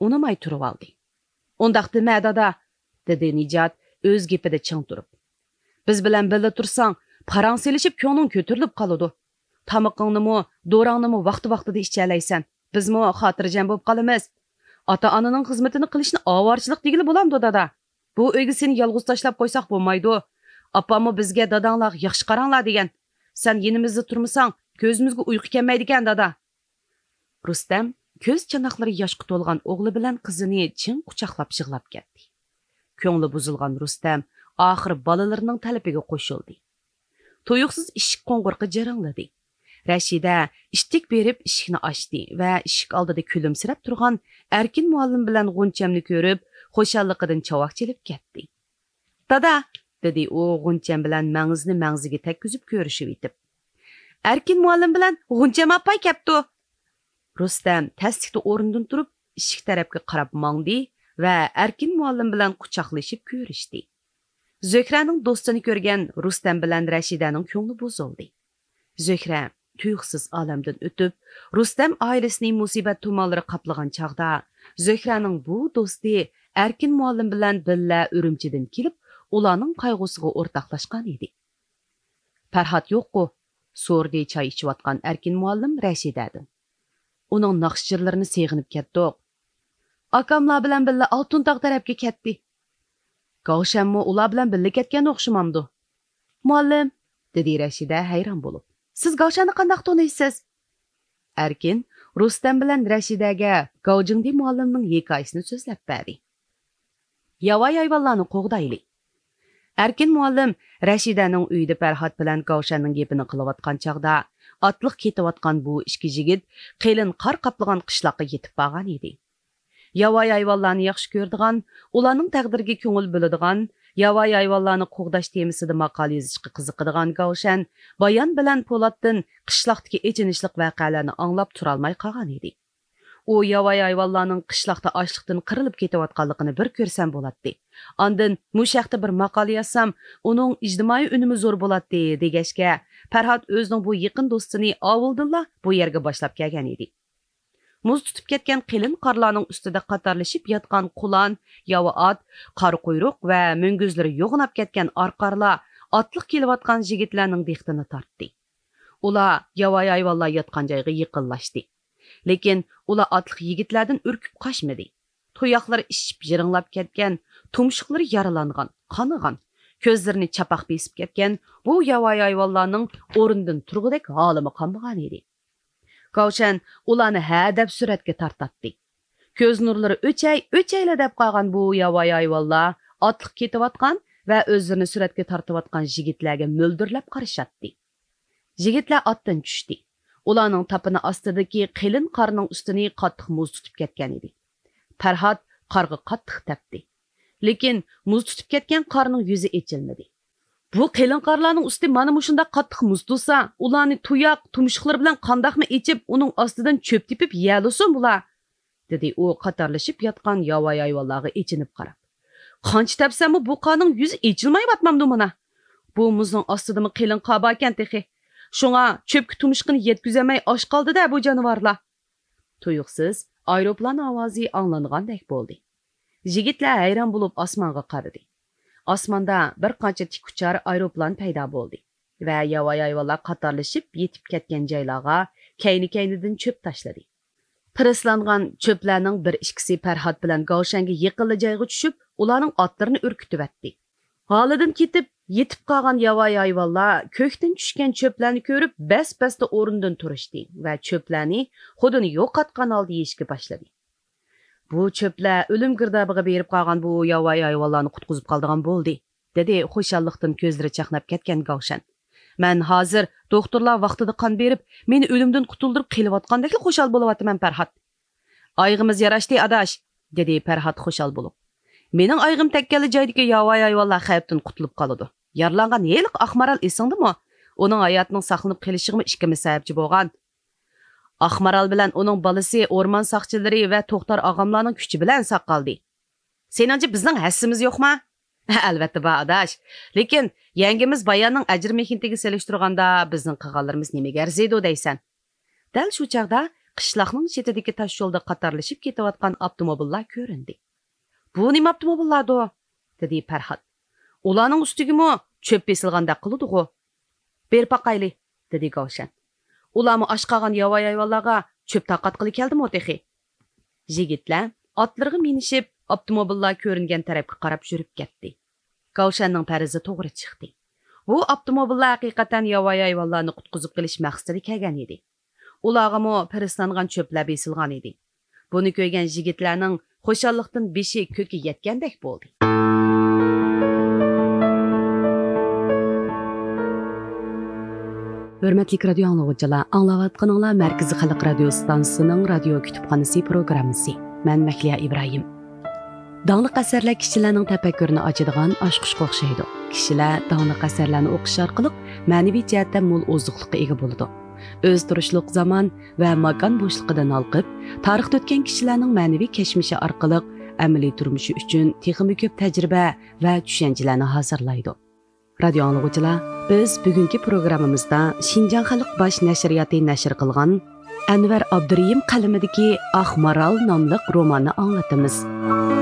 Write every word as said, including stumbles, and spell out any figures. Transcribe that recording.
ئۇنىماي تۇرۇۋالدى. ئۇنداق دېمە، دادا، دېدى نىجات ئۆز گېپىدە چىڭ تۇرۇپ. بىز بىلەن بىللە تۇرساڭ، پاراڭ سېلىشىپ كۆڭلۈڭ كۆتۈرۈلۈپ قالىدۇ. تامىقىڭنىمۇ، دوراڭنىمۇ ۋاقتى-ۋاقتىدا ئىچەلەيسەن. بىزمۇ خاتىرجەم بولۇپ قالىمىز. ئاتا-ئانىنىڭ خىزمىتىنى قىلىشنى ئاۋارىچىلىق دېگىلى بولامدۇ، دادا؟ بۇ ئۆيگە سېنى يالغۇز تاشلاپ قويساق بولمايدۇ. ئاپاممۇ بىزگە داداڭلارغا ياخشى قاراڭلار دېگەن. سەن يېنىمىزدا تۇرمىساڭ، كۆزىمىزگە ئۇيقۇ كەلمەيدىكەن، دادا. رۇستەم كۆز چاناقلىرى ياشقا تولغان ئوغلى بىلەن قىزىنى چىڭ قۇچاقلاپ يىغلاپ كەتتى. كۆڭلى بۇزۇلغان رۇستەم ئاخىر بالىلىرىنىڭ تەلىپىگە قوشۇلدى. تۇيۇقسىز ئىشىك قوڭغۇرىقى جىرىڭلىدى. رەشىدە ئىتتىك بېرىپ ئىشىكنى ئاچتى ۋە ئىشىك ئالدىدا كۈلۈمسىرەپ تۇرغان ئەركىن مۇئەللىم بىلەن غۇنچەمنى كۆرۈپ، خۇشاللىقىدىن چاۋاك چېلىپ كەتتى. دادا، دېدى ئۇ غۇنچەم بىلەن مەڭزىنى مەڭزىگە تەگكۈزۈپ كۆرۈشۈۋېتىپ. ئەركىن مۇئەللىم بىلەن غۇنچەم ئاپاي كەپتۇ. رۇستەم تەسلىكتە ئورنىدىن تۇرۇپ، ئىشىك تەرەپكە قاراپ ماڭدى ۋە ئەركىن مۇئەللىم بىلەن قۇچاقلىشىپ كۆرۈشتى. زۆھرەنىڭ دوستىنى كۆرگەن رۇستەم بىلەن رەشىدەنىڭ كۆڭلى بۇزۇلدى. زۆھرە تۇيۇقسىز ئالەمدىن ئۆتۈپ، رۇستەم ئائىلىسىنى مۇسىبەت تۇمانلىرى قاپلىغان چاغدا، زۆھرەنىڭ بۇ دوستى ئەركىن مۇئەللىم بىلەن بىللە ئۈرۈمچىدىن كېلىپ، ئۇلارنىڭ قايغۇسىغا ئورتاقلاشقان ئىدى. پەرھات يوققۇ؟ سورىدى چاي ئىچىۋاتقان ئەركىن مۇئەللىم رەشىدەدىن. ئۇنىڭ ناخشا-جىرلىرىنى سېغىنىپ كەتتۇق. ئاكاملار بىلەن بىللە ئالتۇن تاغ تەرەپكە كەتتى. گاۋشەنمۇ ئۇلار بىلەن بىللە كەتكەن ئوخشىمامدۇ؟ مۇئەللىم، دېدى رەشىدە ھەيران بولۇپ. سىز گاۋشەننى قانداق تونۇيسىز؟ ئەركىن رۇستەم بىلەن رەشىدەگە گاۋجىڭدى مۇئەللىمنىڭ ھېكايىسىنى سۆزلەپ بەردى. ياۋايى ھايۋانلارنى قوغدايلى. ئەركىن مۇئەللىم رەشىدەنىڭ ئۆيىدە پەرھات بىلەن گاۋشەننىڭ گېپىنى قىلىۋاتقان چاغدا، ئاتلىق كېتىۋاتقان بۇ ئىككى يىگىت قېلىن قار قاپلىغان قىشلاققا يېتىپ بارغان ئىدى. ياۋايى ھايۋانلارنى ياخشى كۆرىدىغان، ئۇلارنىڭ تەقدىرىگە كۆڭۈل بۆلىدىغان، ياۋايى ھايۋانلارنى قوغداش تېمىسىدا ماقالە يېزىشقا قىزىقىدىغان گاۋشەن بايان بىلەن پولاتتىن قىشلاقتىكى ئېچىنىشلىق ۋەقەلەرنى ئاڭلاپ تۇرالماي قالغان ئىدى. ئۇ ياۋايى ھايۋانلارنىڭ قىشلاقتا ئاچلىقتىن قىرىلىپ كېتىۋاتقانلىقىنى بىر كۆرسەم بولاتتى. ئاندىن مۇشۇ ھەقتە بىر ماقالە يازسام، ئۇنىڭ ئىجتىمائىي ئۈنۈمى زور بولاتتى، دېگەچكە، پەرھات ئۆزىنىڭ بۇ يېقىن دوستىنى ئاۋۇلدىنلا بۇ يەرگە باشلاپ كەلگەن ئىدى. مۇز تۇتۇپ كەتكەن قېلىن قارلارنىڭ ئۈستىدە قاتارلىشىپ ياتقان قۇلان، ياۋا ئات، قارا قۇيرۇق ۋە مۈڭگۈزلىرى يوغىناپ كەتكەن ئارقارلار ئاتلىق كېلىۋاتقان يىگىتلەرنىڭ دىققىتىنى تارتتى. ئۇلار ياۋايى ھايۋانلار ياتقان جايغا يېقىنلاشتى. لېكىن ئۇلار ئاتلىق يىگىتلەردىن ئۈركۈپ قاچمىدى. تۇياقلىرى ئىششىپ يىرىڭلاپ كەتكەن، تۇمشۇقلىرى يارىلانغان، قانىغان، كۆزلىرىنى چاپاق بېسىپ كەتكەن بۇ ياۋايى ھايۋانلارنىڭ ئورنىدىن تۇرغۇدەك ھالىمۇ قالمىغان ئىدى. گاۋشەن ئۇلارنى ھەدەپ سۈرەتكە تارتاتتى. كۆز نۇرلىرى ئۆچەي، ئۆچەيلا دەپ قالغان بۇ ياۋايى ھايۋانلار ئاتلىق كېتىۋاتقان ۋە ئۆزلىرىنى سۈرەتكە تارتىۋاتقان يىگىتلەرگە مۆلدۈرلەپ قارىشاتتى. يىگىتلەر ئاتتىن چۈشتى. ئۇلارنىڭ تاپىنى ئاستىدىكى قېلىن قارنىڭ ئۈستىنى قاتتىق مۇز تۇتۇپ كەتكەن ئىدى. پەرھات قارغا قاتتىق تەپتى. لېكىن مۇز تۇتۇپ كەتكەن قارنىڭ يۈزى ئېچىلمىدى. بۇ قېلىن قارلارنىڭ ئۈستى مانا مۇشۇنداق قاتتىق مۇز تۇتسا، ئۇلارنى تۇياق، تۇمشۇقلىرى بىلەن قانداقمۇ ئېچىپ، ئۇنىڭ ئاستىدىن چۆپ تېپىپ يەلىسۇن بۇلار؟ دېدى ئۇ قاتارلىشىپ ياتقان ياۋايى ھايۋانلارغا ئېچىنىپ قاراپ. قانچە تەپسەممۇ بۇ قارنىڭ يۈزى ئېچىلمايۋاتمامدۇ مانا؟ بۇ مۇزنىڭ ئاستىدىمۇ قېلىن قار باركەن تېخى. شۇڭا چۆپكە تۇمشۇقىنى يەتكۈزەلمەي ئاچ قالدى-دە بۇ جانىۋارلار. تۇيۇقسىز ئايروپىلان ئاۋازى ئاڭلانغاندەك بولدى. يىگىتلەر ھەيران بولۇپ ئاسمانغا قارىدى. ئاسماندا بىر قانچە تىك ئۇچار ئايروپىلان پەيدا بولدى ۋە ياۋايى ھايۋانلار قاتارلىشىپ يېتىپ كەتكەن جايلارغا كەينى-كەينىدىن چۆپ تاشلىدى. پىرىسلانغان چۆپلەرنىڭ بىر ئىككىسى پەرھات بىلەن گاۋشەنگە يېقىنلا جايغا چۈشۈپ، ئۇلارنىڭ ئاتلىرىنى ئۈركۈتۈۋەتتى. ھالىدىن كېتىپ، يېتىپ قالغان ياۋايى ھايۋانلار كۆكتىن چۈشكەن چۆپلەرنى كۆرۈپ، بەس-بەستە ئورنىدىن تۇرۇشتى ۋە چۆپلەرنى خۇدىنى يوقاتقان ھالدا يېيىشكە باشلىدى. بۇ چۆپلەر ئۆلۈم گىردابىغا بېرىپ قالغان بۇ ياۋايى ھايۋانلارنى قۇتقۇزۇپ قالىدىغان بولدى، دېدى خۇشاللىقتىن كۆزلىرى چاقناپ كەتكەن گاۋشەن. مەن ھازىر دوختۇرلار ۋاقتىدا قان بېرىپ، مېنى ئۆلۈمدىن قۇتۇلدۇرۇپ قېلىۋاتقاندەكلا خۇشال بولۇۋاتىمەن، پەرھات. ئايىغىمىز ياراشتى، ئاداش، دېدى پەرھات خۇشال بولۇپ. مېنىڭ ئايىغىم تەگكەنلا جايدىكى ياۋايى ھايۋانلار خەۋپتىن قۇتۇلۇپ قالىدۇ. يارىلانغان ھېلىقى ئاق مارال ئېسىڭدىمۇ؟ ئۇنىڭ ھاياتىنىڭ ساقلىنىپ قېلىشىغىمۇ ئىككىمىز سەۋەبچى بولغان. ئاق مارال بىلەن ئۇنىڭ بالىسى ئورمان ساقچىلىرى ۋە توختار ئاغاملارنىڭ كۈچى بىلەن ساق قالدى. سېنىڭچە بىزنىڭ ھەسسىمىز يوقما؟ ئەلۋەتتە بار، ئاداش. لېكىن يەڭگىمىز باياننىڭ ئەجىر-مېھنىتىگە سېلىشتۇرغاندا بىزنىڭ قىلغانلىرىمىز نېمىگە ئەرزىيدۇ دەيسەن؟ دەل شۇ چاغدا قىشلاقنىڭ چېتىدىكى تاش يولدا قاتارلىشىپ كېتىۋاتقان ئاپتوموبىللار كۆرۈندى. بۇ نېمە ئاپتوموبىللاردۇ؟ دېدى پەرھات. ئۇلارنىڭ ئۈستىگىمۇ چۆپ بېسىلغاندەك قىلىدىغۇ. بېرىپ باقايلى، دېدى گاۋشەن. ئۇلارمۇ ئاچ قالغان ياۋايى ھايۋانلارغا چۆپ تارقاتقىلى كەلدىمۇ تېخى؟ يىگىتلەر ئاتلىرىغا مىنىشىپ، ئاپتوموبىللار كۆرۈنگەن تەرەپكە قاراپ يۈرۈپ كەتتى. گاۋشەننىڭ پەرىزى توغرا چىقتى. بۇ ئاپتوموبىللار ھەقىقەتەن ياۋايى ھايۋانلارنى قۇتقۇزۇپ قېلىش مەقسىتىدە كەلگەن ئىدى. ئۇلارغىمۇ پىرىسلانغان چۆپلەر بېسىلغان ئىدى. بۇنى كۆرگەن يىگىتلەرنىڭ خۇشاللىقتىن بېشى كۆككە يەتكەندەك بولدى. ھۆرمەتلىك رادىيو ئاڭلىغۇچىلار، ئاڭلاۋاتقىنىڭلار مەركىزىي خەلق رادىيو ئىستانسىسىنىڭ رادىيو كۇتۇپخانىسى پروگراممىسى. مەن مەھلىيا ئىبراھىم. داڭلىق ئەسەرلەر كىشىلەرنىڭ تەپەككۇرىنى ئاچىدىغان ئاچقۇچقا ئوخشايدۇ. كىشىلەر داڭلىق ئەسەرلەرنى ئوقۇش ئارقىلىق مەنىۋى جەھەتتە مول ئوزۇقلۇققا ئىگە بولىدۇ. ئۆز تۇرۇشلۇق زامان ۋە ماكان بوشلۇقىدىن ھالقىپ، تارىختا ئۆتكەن كىشىلەرنىڭ مەنىۋى كەچمىشى ئارقىلىق ئەمەلىي تۇرمۇشى ئۈچۈن تېخىمۇ كۆپ تەجرىبە ۋە چۈشەنچىلەرنى ھازىرلايدۇ. رادىيو ئاڭلىغۇچىلار، بىز بۈگۈنكى پروگراممىمىزدا شىنجاڭ خەلق باش نەشرىياتى نەشر قىلغان ئەنۋەر ئابدۇرېھىم قەلىمىدىكى ئاق مارال ناملىق روماننى ئاڭلىتىمىز.